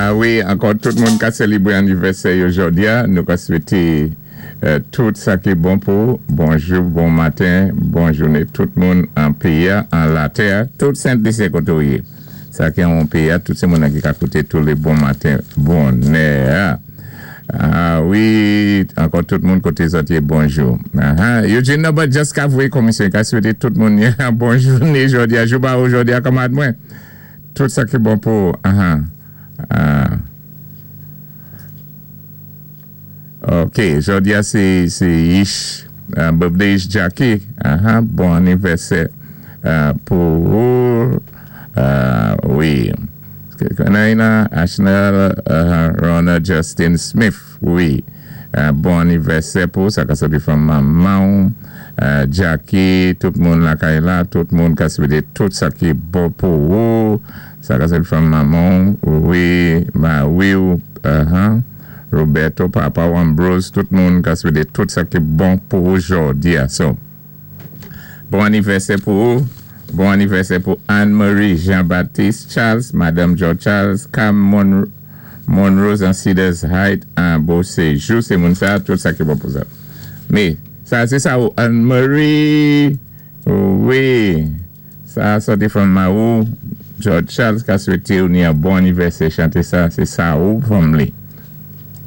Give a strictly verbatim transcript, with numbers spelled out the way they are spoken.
Ah wi, ankò tout moun ka sélébwé anniversaire jòdi a, nou ka swété euh, tout sa ki bon pou bonjou, bon maten, bon jouné, tout moun an péyi a, an latè, tout Sent-Lisi koté ou yé. Sa ki an péyi a, tout sé moun ki ka kouté tou lé bon maten, bonè. Ah wi, ankò tout moun koté zòt yé bonjou. Ah, ah, Eugene Norbert just ka voyé komisyon, ka swété tout moun bon jouné jòdi a, jou ba ou jòdi a kanmad mwen. Tout sa ki bon pou, ah ah. Ah. Ok, jòdi a sé sé Ish, uh, birthday Ish Jackie, ah, ah, bon anniversaire uh, pou ou, uh, wi. Kanaina, Ashnel, uh, Ronald Justin Smith, wi. Uh, bon anniversaire pou sa ka soti from manman, uh, Jackie, tout moun lakay la, tout moun ka swété tout sa ki bon pou ou, sa ka soti from manman, wi, ma wi, uh -huh. Roberto, Papa Ambrose, tout moun ka swété tout sa ki bon pou ou jòdi a. So, bon anniversaire pou ou. Bon anniversaire pou Anne-Marie Jean-Baptiste Charles, Madame George Charles, Cam Monroe, Monroe an Cedars Heights, an Beauséjour, sé moun sa, tout sa ki bon pou sa. Mais, sa sé sa ou Anne-Marie, wi, sa soti from Maou, George Charles ka swété ou ni an bon anniversaire, chanté sa, sé sa ou from li.